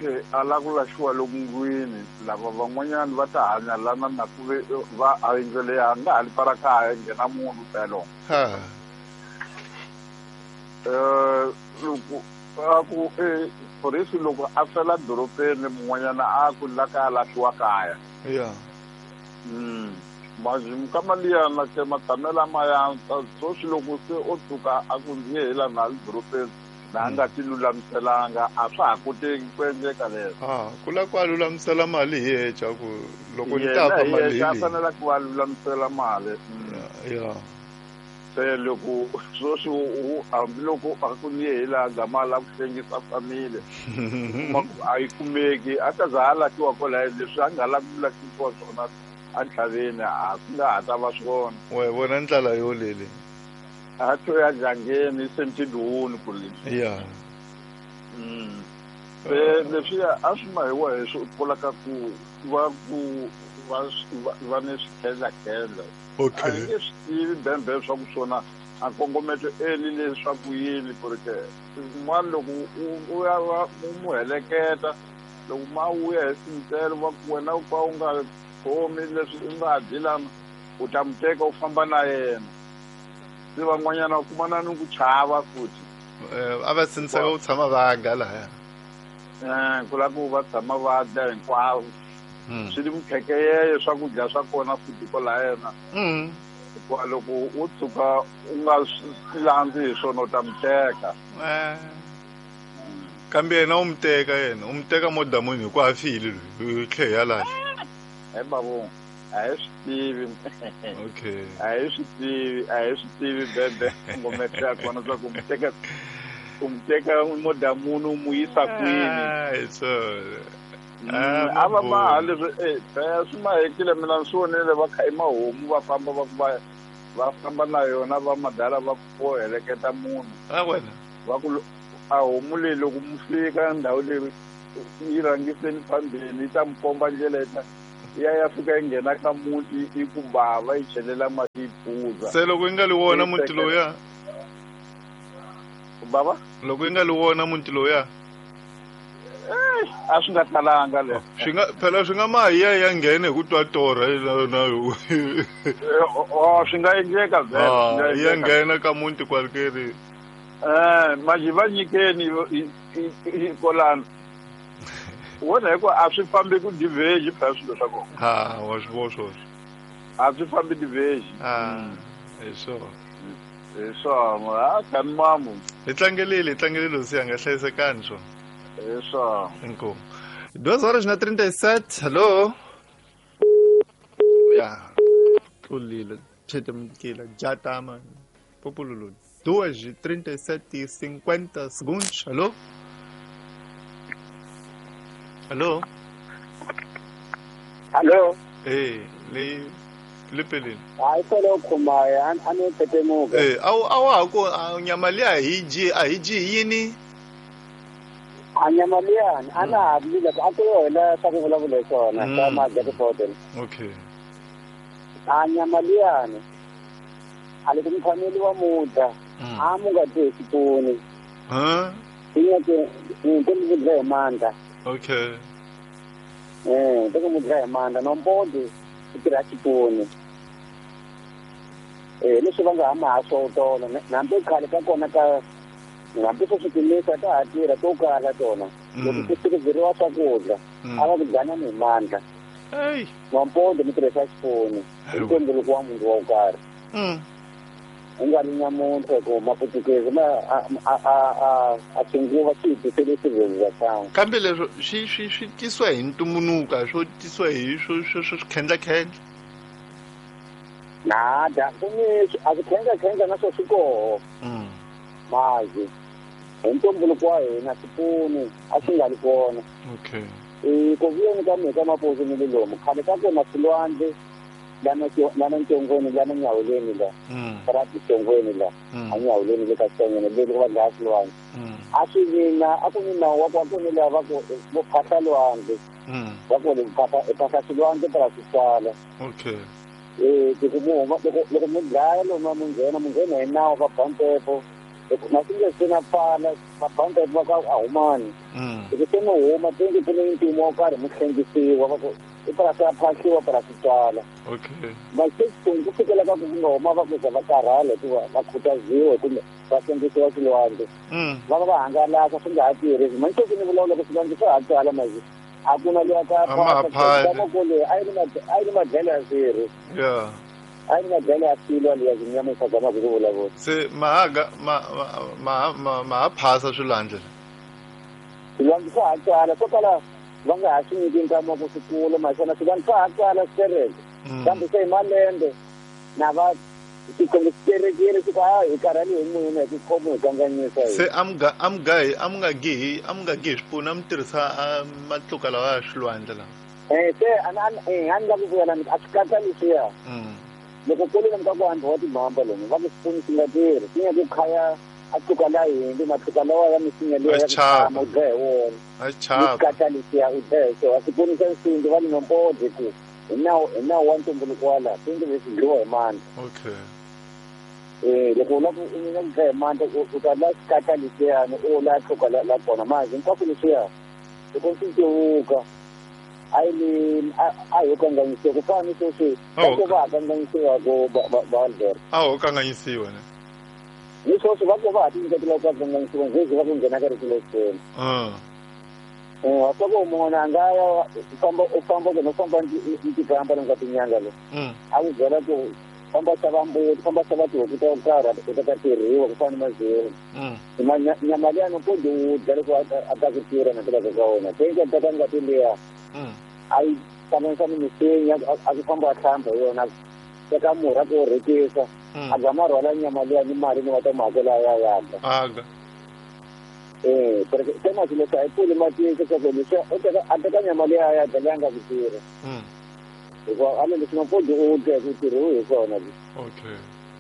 Se a la ku lahliwa lomu ndlwini lava van'wanyana va ta hanya lana na ku ve va a yindlu leyi a nga ha li para kaya nghena munhu pelo. Loko a ku phorisi loko a fela dorobeni mun'wanyana a ku la ka lahliwa kaya. Yeah. Majimka mali na ke matamela maya sweswi loko se o tshuka a ku ndzi ye hi la na dorobeni na nga ti lulamiselanga a swa ha koteki ku endleka leswo. Ku la ku a lulamisela mali hi yexe ku loko ni ta fa mali hi leyi. Fanela ku a lulamisela mali. Yeah. Se loko sweswi hambiloko a ku ni ye hi laha gama la ku hlengisa family a yi kumeki a ta za a lahliwa kwalaho leswi a nga lavi ku lahlisiwa swona a ntlhaveni a ku nga ha ta va swona. We vona ndlela yo lele. A to ya jangeni semtindhuni ku leswi. Yeah. Se leswiya a swi mahiwa hi swi pfulaka ku va ku va ni swikhendlakhendla. Okay. A ni nge swi tivi bembe swa ku swona a kongometo eli leswaku yini ku ri ke un'wana loko u ya va u mu heleketa loko ma vuya hi sintelo va ku wena u ka u nga khomi leswi u nga dyi lana u ta mu teka u famba na yena. Se van'wanyana va kumana ni ku chava futhi. A va sindziseka ku tshama va dya lahaya. Ku lava ku va tshama va dya hinkwavo. Swi ni mukhekeyeye swakudya swa kona futhi kwalaya yena. Hikuva loko u tshuka u nga swi landzi hi swona u ta mu teka. Kambe yena u mu teka yena u mu teka modamuni hikuva a file loyi u tlhe ya lahla. He babo a hi swi tivi. Okay. A hi swi tivi, a hi swi tivi bebe ngometse ya kona swa ku u mu teka modamuni u mu yisa kwini. Hi swona. A va maha leswi swi mahekile mina ni swi vonile va kha i mahomu va famba va ku va famba na yona va madala va ku heleketa munhu. A wena. Va ku a homu leyi loko mu fika ndhawu leyi yi rhangiseni phambili yi ta mi komba ndlela ya ya fika yi nghena ka muti yi ku bava yi chelela mati yi phuza. Se loko yi nga li wona muti lowuya bava loko yi nga li wona muti lowuya a swi nga talanga leswo swi nga phela swi nga mahi ya nghena hi ku twa torha na swi nga endleka vhele ya nghena ka muti kwalekeri manje va nyikeni kolano wona hikuva a swi fambi ku diverge phela swilo swa kona. Ha wa swi vona swoswo a swi fambi diverge. Hi swona hi swona a kani mamu hi tlangelile hosi yanga hlayisekani swona. Hi swona inkomu 2:37 hello ya tlulile chetemkila jatama popululu 2:37:50 hello hello hello le lepeleni hayi solo khumaya a ni petemuka a wa ha ku nyama liya hi dyi a hi dyi yini a nyama liyani a na ha vilile a ku yona swa ku vulavula hi swona swa majakifote. Okay a nyama liyani a loko mi phameli wa mudla a mu nga dyi hi xipuni te mi dya hi mandla. Okay te mu dya hi mandla nombodi ku tirha xipuni leswi va nga ha ma ha swo tolo hambi khale ka kona ka hambi swo swi timisa ta ha tirha to kala tona loko ku tirhiseriwa swakudya a va ku dyanani hi mandla nompondo mi tirhisa xipuni hi ntumbuluko wa munhu wo karhi u nga ri nyamuntlha hi ku maputukezi ma a xinguva xi hi tisele civilization. Kambe leswo swi tisiwa hi ntumbuluko swo tisiwa hi swo swikhendlakhendla nada ku ni a swikhendlakhendla na swo swi koho mazi hi ntumbuluko wa hina xipuni a swi nga ri kona. Okay ku vuyeni ka mina ka mapuzu ni le lomu khale ka kona swilwandle lana ntongweni lana nyawuleni la ra tongweni la a nyawuleni le ka tongweni le va dlaya swilwandle a swi vina a ku ni nawu wa ku a ku ni lava ku vo phahla lwandle va ku phahla swilwandle para swi tswala. Okay loko mu huma loko mi dlaya lomu mi nghena hi nawu va ba mpepo na swi nge se na pfala va ba mpepo va ka a humani loko se mi huma tingi ku ni mpimo wo karhi mi hlengisiwa va ku i purasi ya phahliwa purasi tswala. Okay ma ku fikela ka ku nga huma va ku za va karhala hikuva va khutaziwa kumbe va hlengisiwa swilwandle va va hangalasa swi nga ha tirhi manje ku ni vulavula ku swilwandle swa ha tswala mazi a ku na luya ka phahla a yi ri madlelo ya swirho a yi ri madlelo ya swilo liya zinyamisa zama ku vulavula se maha phasa swilwandle swilwandle swa ha tswala swo kala va nga ha swi nyiki nkama ku swi kula maswona swilwandle swa ha tswala swi tereke kambe se hi malembe na va xikombo swi terekile swi ku a hi karhali hi munhu hi ku khomi hi kanganyisa. Se a mi nga gihi swipunu a mi tirhisa matluka lawa ya swilwandle lawa se a ni la ku vuyela a swi katsa leswiya loko kule lomu ka ku hambi wa timhamba lomu va ku xipunu xi nga tirhi xi nga ku khaya a tluka la hindzi matluka lawa ya misinya liya ya ku tshama u dlaya hi wona ni katsa leswiya u dlaya hi swona xipunu xa nsimbi va ni nombodzi ku hi nawu wa ntumbuluko wa laha swi leswi dliwa hi mandla. Okay loko u lava ku u dlaya hi mandla u ta la xikatla leswiyani u la tluka la kona mazi hinkwaswo leswiya loko swi cevuka a yi a ho kanganyisiwa ku fana ni sweswi va va ha kanganyisiwa ku va Albert a ho kanganyisiwa ne ni sweswi va ku va ha tinyiketela ku kanganyisiwa njhezi va ku nghena ka rito lexikweni wa swa ku munhu a nga ya u famba ku no famba ntikamba lomu ka tinyanga lo a ku byela ku famba xava mbuti famba xava tihuku to karhi u ta ta tirhiwa ku fana ni mazulu nyama liya no kodi u dya loko a ta ku tirha na tivaka ka wona tenke ta ka ngati liya a yi hlanganisa ni misinya a ku famba a hlamba hi yona teka murhi a ku rhekisa a gama rhwala nyama liya ni mali ni va ta mu hakela ya yaka se masi leswi a yi pfuli matiko leswaku leswi a teka nyama liya ya dya leyi nga ku tirha hikuva a le leswi mapodi u dya hi ku tirhiwi hi swona. Okay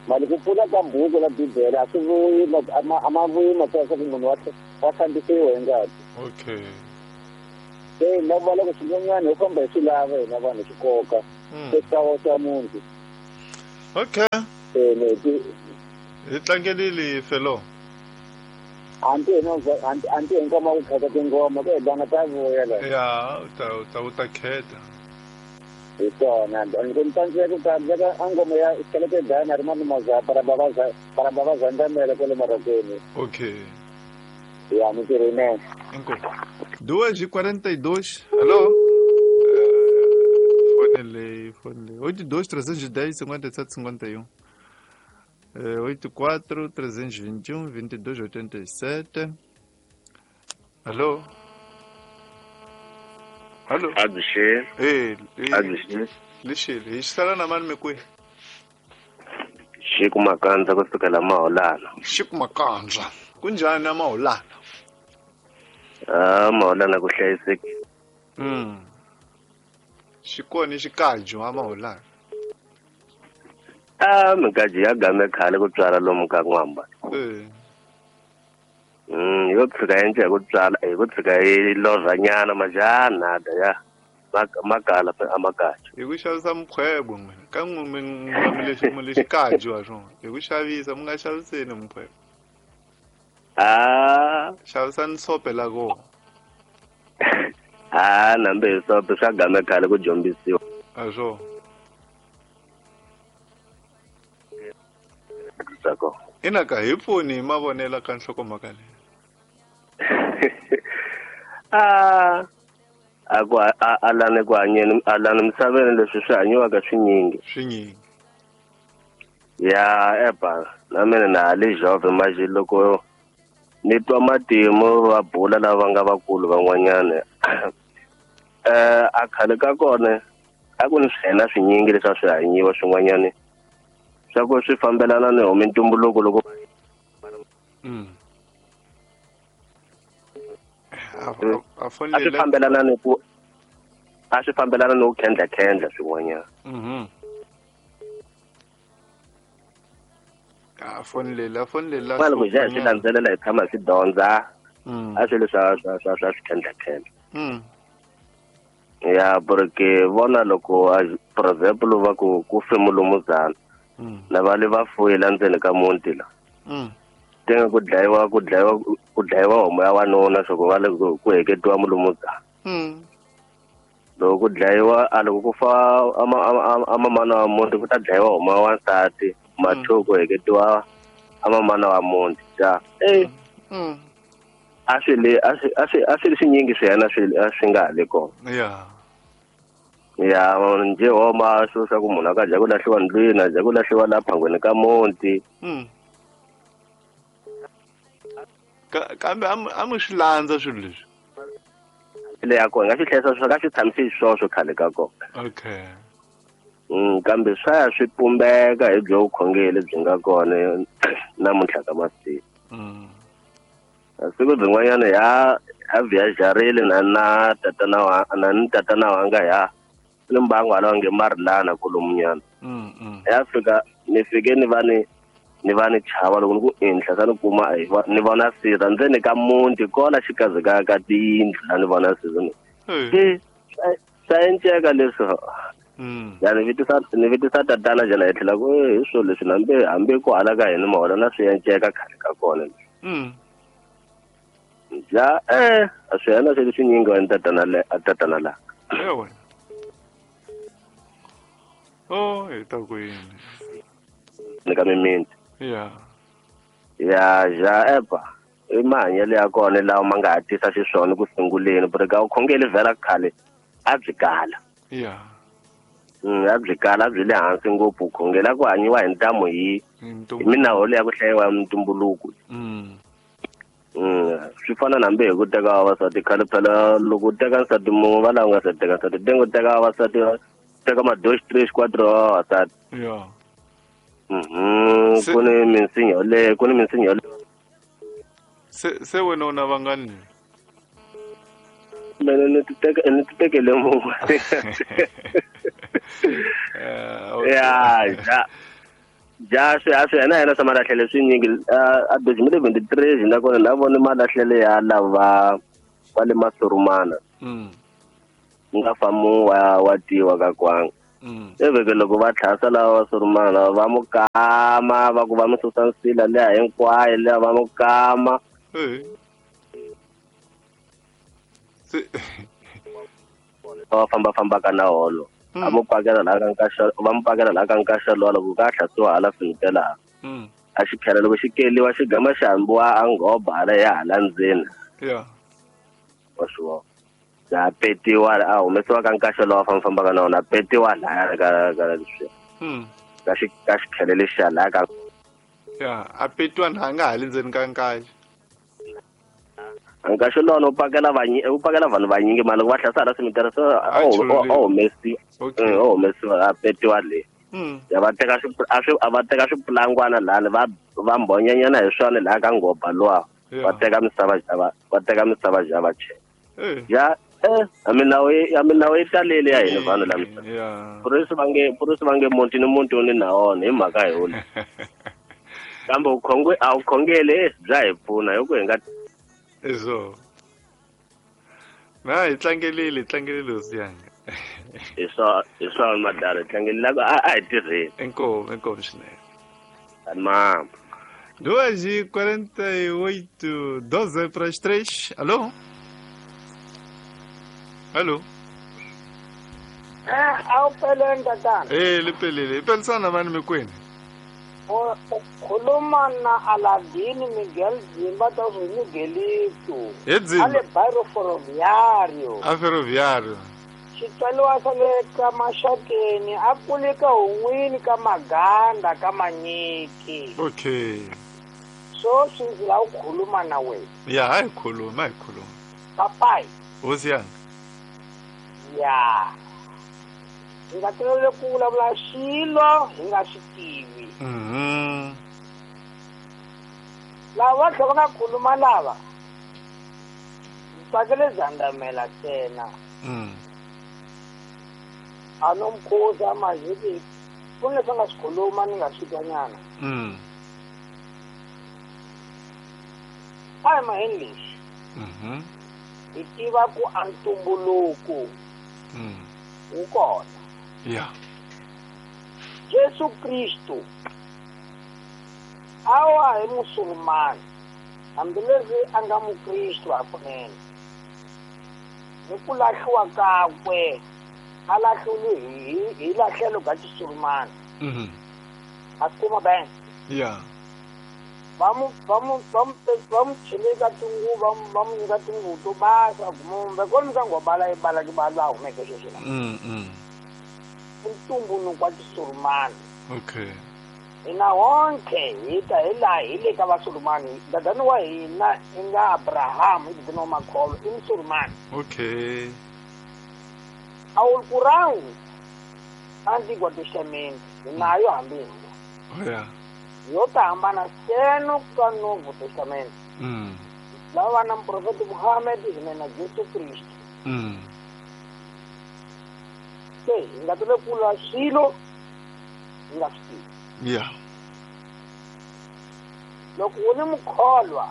mali ku pfula ka buku la bibele a swi vuyi a ma vuyi matsalwa leswaku munhu wa hlambisiwa hi ngati. Okay Se na va loko swin'wanyana hi famba hi swi lava hina vanhu swi koka. Se swa munhu. Okay. Hi tlangelile felo. Anti anti hinkoma ku khetha tingoma ku hi ta vuya la. Ya, u ta khetha. Hi swona. Ni tsandzeka ku tsandzeka a ngoma ya Xikelephe Dana ri Manumaza para baba zandamela kwale Marokweni. Okay. Ya, mintirho yinene. Inkomu. 2:42. Alô? Fone fone. 82 310 57 51. 84 321 22 87. Alô? Alô? Adishe. Ei, Adishe. Lixile, xisala na mani mikwi? Xiku Makandza kusukela Maholana. Xiku Makandza. Kunjani na Maholana? Ah, Maholana ku hlayisekile. Xikoni xikaju a Maholana. Ah, mikaji ya game khale ku tswala lomu ka n'wamba. Yo tshika yendle hi ku tswala hi ku tshika yi lovhanyana majana da ya makala a makaji. Hi ku xavisa mukhwebo n'wina ka n'we mi lexi kaju ha swona. Hi ku xavisa mi nga xaviseni mukhwebo. Ah, xavisani sope la kona. Ah, nambe hi sope swa game khale ku jombisiwa. A swona. Ina ka hi pfuni hi mavonelo ka nhlokomhaka leyi. Ah, a ku alani ku hanyeni alani misaveni leswi swi hanyiwaka swinyingi. Swinyingi. Ya epa na mina na ha le jove manje loko ni twa matimu va bula lava nga vakulu van'wanyana. A khale ka kona a ku ni swihena swinyingi leswi a swi hanyiwa swin'wanyana. Swa ku swi fambelana ni homi ntumbuluko loko a swi fambelana ni ku a swi fambelana ni ku khendla swin'wanyana. A fonela loko hi swi landzelela hi tshama hi swi dyondza a swilo swa swa swi khendla. Ya porque vona loko for example va ku fe mulumuzana na va le va fuyela ndzeni ka muti la. Tenge ku dlayiwa homu ya wanuna swa ku va le ku heketiwa mulumuzana. Loko ku dlayiwa a loko ku fa a mamana wa muti ku ta dlayiwa homu ya wansati mathu ku heketiwa a mamana wa muti ja. A swi swinyingi swiyena swi nga ha le kona. Yeah. Ya nje homa swo swa ku munhu a ka dya ku lahliwa ndlwini a dya ku lahliwa la phangweni ka muti. Kambe a mi swi landza swilo leswi. Le ya kona nga swi hlayisa swi ka swi tshamisi swoswo khale ka kona. Okay. Kambe swa ya swi pumbeka hi byo vukhongeri byi nga kona namuntlha ka masiku. Siku byin'wanyana ya viajarile na tatana wa na ni tatana wanga ya ni mbangu hala nge marilana kolomunyana. Ya fika ni fike ni va ni chava loko ni ku enhla sa ni kuma ni vona sirha ndzeni ka muti kola xikazi ka tiyindlu la ni vona sirha ni. Swa enceka leswi. Ya ni vitisa tatana jana hi tlhela ku hi swilo leswi nambe hambi ku hala ka hina mahola na swi enceka khale ka kona. Ja a swi yena swi swinyingi wa tatana la. Ewe. Oh, hi ta ku yini? Ni ka mimiti. Yeah. Ya ja epa i mahanyelo ya kona lawa ma nga hatisa xiswona ku sunguleni porque a vukhongeri vhela khale a byi kala. Yeah. A byi kala a byi le hansi ngopfu vukhongeri a ku hanyiwa hi ntamu hi minawu leya ku hlayiwa ya mintumbuluko. Swi fana na hambi hi ku teka vavasati khale phela loko u teka nsati mun'we va lava nga se teka nsati tenge u teka vavasati teka ma 2 3 4 vavasati. Yeah. Ku ni minsinya le ku ni minsinya le. Se wena u na vangani? Mina ni ti tekele mun'we. Ya ja swi a swi yena swa malahlele swinyingi a 2023 nakona na vona malahlele ya lava va le Masurumana. Nga fa mu wa tiwa ka kwanga. Eveke loko va tlhasa lava va surumana va mu kama va ku va mu susa nsila leya hinkwayo leya va mu kama. Va famba fambaka na holo. A mu pakela laha ka nkaxa va mu pakela laha ka nkaxa lowa loko ka hlasiwa hala finitela. A xikhela loko xi keliwa xi gama xi hambiwa a nghoba hala ya hala ndzeni. Yeah. Wa swi vona. Ya petiwa a humesiwa ka nkaxa lowa fambafambaka na wona petiwa laya ka ka leswi. Ka xi ka xikhele lexiya laya ka. Ya, a petiwa na nga hali ndzeni ka nkaxa. Nkaxa lowa u pakela u pakela vanhu vanyingi mali loko va hlasa hala cemetery so a humesiwa. A humesiwa a petiwa le. Ya va teka a va teka swipulangwana lani va va mbhonyanyana hi swona laha ka nghoba lowa. Va teka misava va teka misava ja va chela. Ya a minawu yi talele ya hina vanhu la misava. Purisi va nge muti ni muti wu ni na wona hi mhaka hi wona. Kambe a wu khongele bya hi pfuna hi ku hi nga eso. Na hi tlangelile hosi yanga. Hi swa madala tlangelile a hi tirheni. Inkomu swinene. Mama. 2:48, 2:58. Alô? Alô? Awupheleni tatana. Liphelile. Iphelisana mani mikwini? Khuluma na Aladini Miguel Zimba ta swi Miguelito. Ale bairro Ferroviário. A Ferroviário. Xitswaliwa sa le ka Maxakeni a kule ka hun'wini ka Maganda ka Manyiki. Okay. So swi ndzi lava ku khuluma na wena. Ya, a hi khuluma, Papai. Hosi yanga. Ya. Hi nga tolovele ku vulavula xilo hi nga swi tivi. Lava va tlhela va nga khuluma lava ndzi tsakele Zandamela ntsena. A no mukhuza maziki ku ni leswi a nga swi khuluma ni nga swi twanyana. A hi maheni leswi. Hi tiva ku a ntumbuluko wu kona. Yeah. Jesu Kristu awa hi musulumani hambileswi a nga mukristu hakunene ni ku lahliwa kakwe a lahliwile hi lahlelo ka xisulumani. A kuma ben. Yeah. Va mu cheleka tinguva va mu nyika tinguvu to basa kumbe kona ka ngobala yi bala ki bala humeke sweswi la. Ntumbuluko wa xisulumani. Okay. Hina wonke hi ta hi laha hi le ka vasulumani. Dadani wa hina i nga Abraham hi dadani wa makholo i musulumani. Okay. Alquran Antigo Testamento hi nayo hambi hina. Oh yeah. Yo ta hambana seno ka Novo Testamento. Lava va na muprofeta Muhammad hina na Jesu Kristu. Se hi nga tole kula swilo hi nga swi tivi. Yeah. Loko u ni mukholwa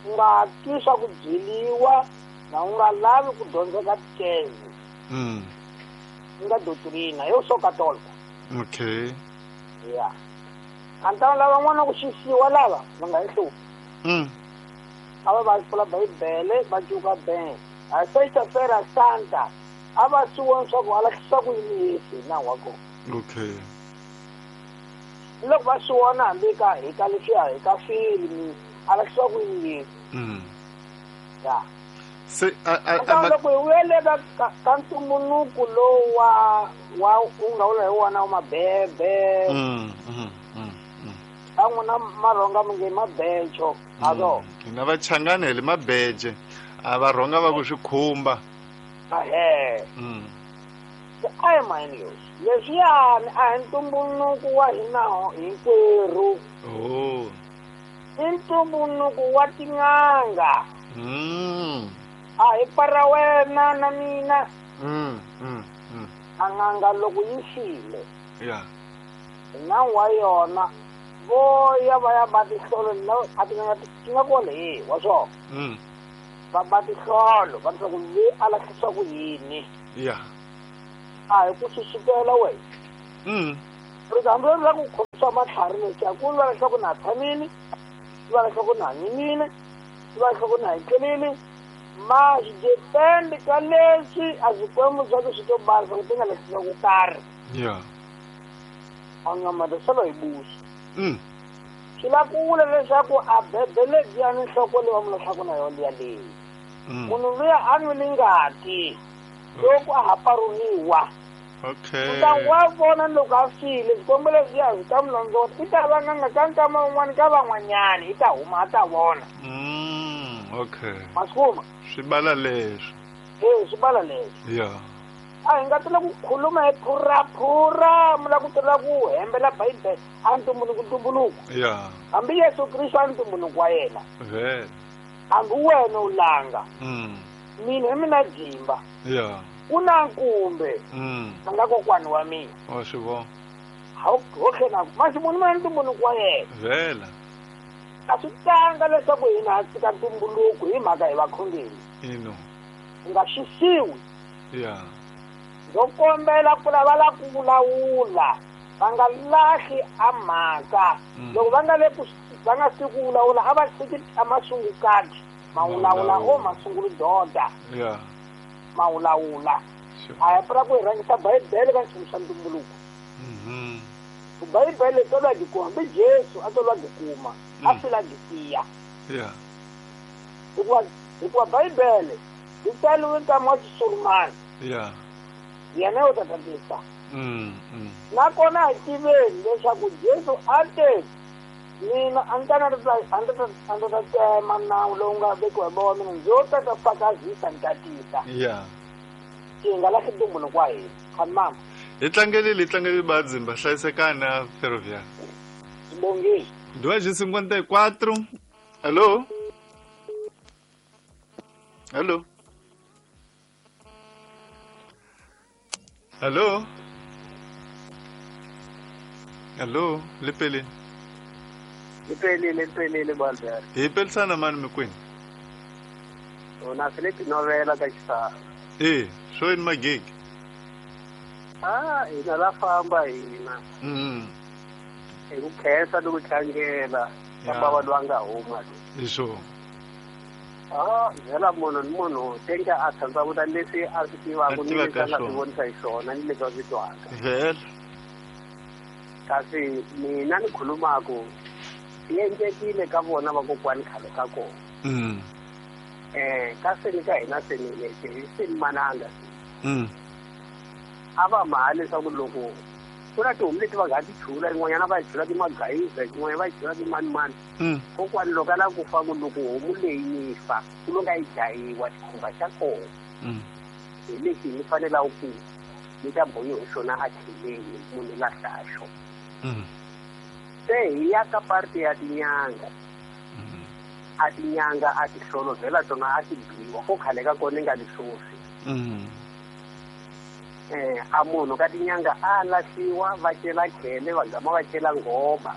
u nga twi swa ku byeliwa na u nga lavi ku dyondza ka tikeze. U nga doctrina yo so katolika. Okay. Yeah. Antana lava n'wana ku xisiwa lava va nga hi hluphi. A va va pfula Bibele va cuka ben. A sexta-feira santa a va swi vona swa ku a lahlisa ku yini Yesu hi nawu wa kona. Okay. Loko va swi vona hambi ka hi ka leswiya hi ka filimi a lahlisa ku yini Yesu. Ya. Se a loko hi vuyele ka ntumbuluko lowu wa u nga vula hi wona wa mabebe. A n'wina marhonga mi nge mabecho a hina vachangani hi le mabeje a varhonga va ku swi khumba. Ahe. Se a hi maheni leswi leswiyani a hi ntumbuluko wa hina hinkwerhu. Oh. I ntumbuluko wa tin'anga. A hi para wena na mina. A n'anga loko yi file. Yeah. Nawu wa yona vo ya va ya ba tihlolo a tin'anga ti nga kona hi wa swona. Va ba tihlolo va leswaku loyi a lahlisa ku yini. Ya. A hi ku susukela wena. Ri hambi ri la ku khomisa matlhari leswi a ku va leswaku na tshamile, va leswaku na hanyile, va leswaku na hetlelile, ma swi depend ka leswi a swikwembu swa ku swi to basa ku ti nga lahlisa ku karhi. Ya. A nga mata solo hi busa. Swi la ku vula leswaku a bebe lebyiya ni nhloko leyi va mu lahlaku na yona liya leyi. Munhu luya a nwile ngati loko a ha paruriwa. Okay. Kutani wa vona loko a file swikwembu leswiya swi ta mu londzota, i ta va n'anga ka nkama wun'wani ka van'wanyani, i ta huma a ta vona. Okay. Ma swi kuma? Swi bala leswi. E, swi bala leswi. Ya. A hi nga tela ku khuluma hi phuraphura, mi la ku tela ku hembela Bibele a ntumbuluko. Ya. Hambi Yesu Kristu a ntumbuluko wa yena. Vele. Hambi wena u langa. Mina hi mina jimba. Ya. Ku na nkumbe. A nga kokwani wa mina. Wa swi vona. Ho tlhela masi munhu mina ntumbuluko wa yena. Vele. A swi tanga leswaku hina ha tshika ntumbuluko hi mhaka hi vakhongeri. Ino. Hi nga xisiwi. Ya. Ndzo kombela ku lava la ku vulavula va nga lahli a mhaka. Loko va nga le ku va nga si ku vulavula a va tshiki a masungukati ma vulavula o masungulu doda. Ya. Ma vulavula. A hi pfuna ku hi rhangisa Bibele ka nchumu swa ntumbuluko. Bibele tolwa dyi kuma hambi Jesu a tolwa dyi kuma a fila dyi tiya. Ya. Hikuva Bibele yi tsariwe nkama wa Xisurumani. Ya. Yena u ta tatisa. Nakona hi tiveni leswaku Jesu a te mina a ndzi ta tema nawu lowu nga vekiwa hi bava wa mina, ndzo ta ta fakazisa ni tatisa. Ya. Hi nga lahli ntumbuluko wa hina. Khamama. Hi tlangelile Badzimba, hlayisekani na Ferroviário. Bongile. 2:54. Alô? Alô? Alô? Alô, Lepelile. Lepelile Balbert. Hi pelisana mani mikwini? Na swi leti novela ka xisana. E, swo yini magigi? Ah, hina la famba hina. Hi ku khensa ni ku tlangela ka bava loyi a nga huma. Hi swona. Ah, byela munhu ni munhu tenga a tshandzavuta leswi a swi tivaka ni leswi a nga swi vonisa hi swona ni leswi a swi twaka. Vhele. Kasi mina ni khulumaku yi endlekile ka vona vakokwani khale ka kona. Ka seni ka hina seni lexi seni mananga. A va maha leswaku loko ku na tihomu leti va nga ti chula, yin'wanyana va yi chula timagayiza, yin'wanyana va yi chula timanimani. Kokwani loko a lava ku fa ku loko homu leyi yi fa ku lo nga yi dlayiwa xikhumba xa kona. Hi lexi ni fanelaka ku ni ta bohiwa hi xona a tlheleni munhu lahla xona. Se hi ya ka parti ya tinyanga. A tinyanga a ti hlolovela tona a ti biwa ko khale ka kona nga leswosi. A munhu ka tinyanga a lahliwa va cela khele va gama va cela ngoma.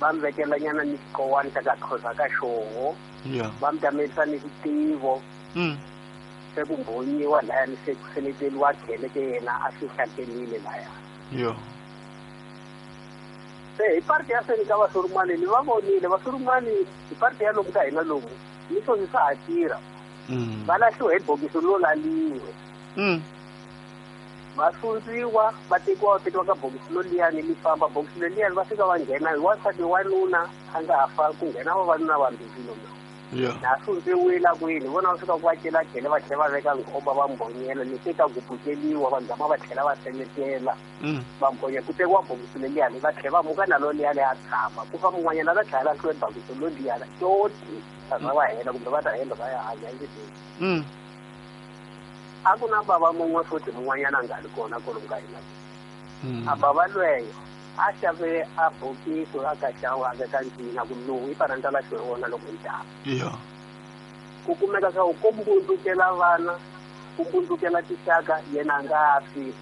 Va mi vekela nyana ni xikowani xa ka khoza ka xoho. Va mi tamelisa ni xitivo. Se ku mbonyiwa laya ni se ku seleteriwa khele ke yena a swi hlakelile laya. Yo. Se hi parti ya seni ka vasurumani ni va vonile vasurumani hi parti ya lomu ka hina lomu ni swoswi swa ha tirha. Va lahliwa hi bokisi lo laliwe. Va sundziwa va tekiwa ka bokisi lo liyani li famba bokisi leliyani va fika va nghena hi wansati wanuna a nga ha fa ku nghena vavanuna vambirhi lomu. Na sundziwile kwini vona va fika ku va cela khele va tlhela va veka nghoba va mbonyela ni se ka gubukeliwa va gama va tlhela va seletela va mbonyela ku tekiwa bokisi leliyani va tlhela va muka na lo liyani a tshama ku fa mun'wanyana va tlhela lahliwe bokisi lo liyani toti va za va hela kumbe va ta hela va ya hanya endleleni. A ku na bava mun'we futhi mun'wanyana a nga ri kona kwalomu ka hina. A bava lweyo a xave a bokisi a ka xava a veka ncina ku lowu i fanele ni ta lahliwe wona loko hi ta. Ku kumeka swa ku ko mbundzukela vana, ku mbundzukela tixaka yena a nga fi.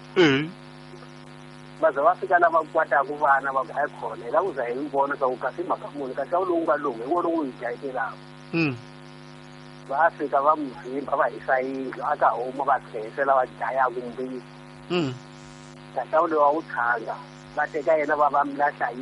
Va za va fika lava kwataku vana va ku hayi khona hi lava ku za hi vona swa ku kasi mhaka muni kasi a wu lowu nga lowu hi wona wu hi dlayetelaka. Va fika va n'wi vhimba va hisa yindlu a ka huma va tlherisela va dlaya kumbe. Tata loyi wa wu tshanga va teka yena va va mi lahla.